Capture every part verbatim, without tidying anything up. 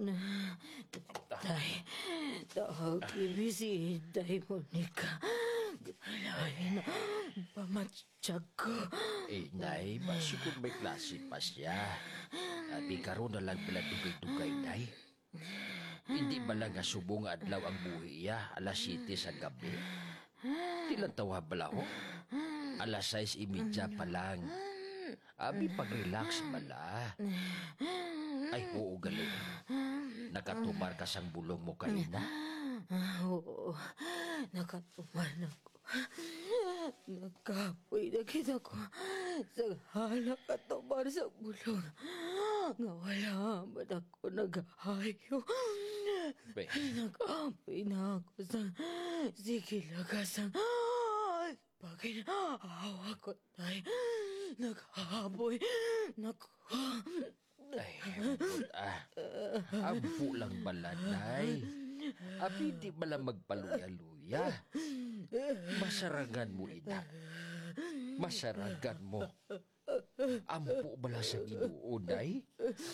Tay, tagi mi si Inday Monica. Lain ang pamatyag ko. Eh, Nay, basi kung may klase pa siya. Abi, karon na lang pala dugay-dugay, Nay. Hindi ba lang nga subong nga adlaw ang buhi iya, alas siyete sa gabi? Di lang tawa bala, ho? Alas sais y media pa lang. Abi, pag-relax bala. Ay, oo, gali. Nakatumar ka sang bulong mo kaina? Ah, oo, nakatumar na ko. Nagkapoy na kita ko sa hala katumar sa bulong nga wala man ako nagahayo. Be. Nagkapoy na ako sa sige lagas ang paginahawa ko, tay. Naghaboy na ko. Ay, ambot, ah. Ampo lang bala, Nay. Abi, di bala magpaluya-luya. Masarangan mo, ina. Masarangan mo. Ampo bala sa Ginoo, Nay.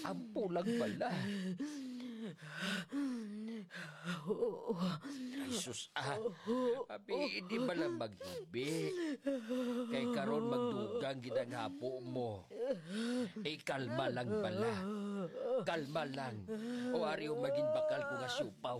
Ampo lang bala. Ay, sus, ah. Abi, di bala maghibi. Kay karon magdugang gid ang hapo mo. Eh, kalma lang bala. Kalma lang. O ari, o magin bakal ko nga siupaw.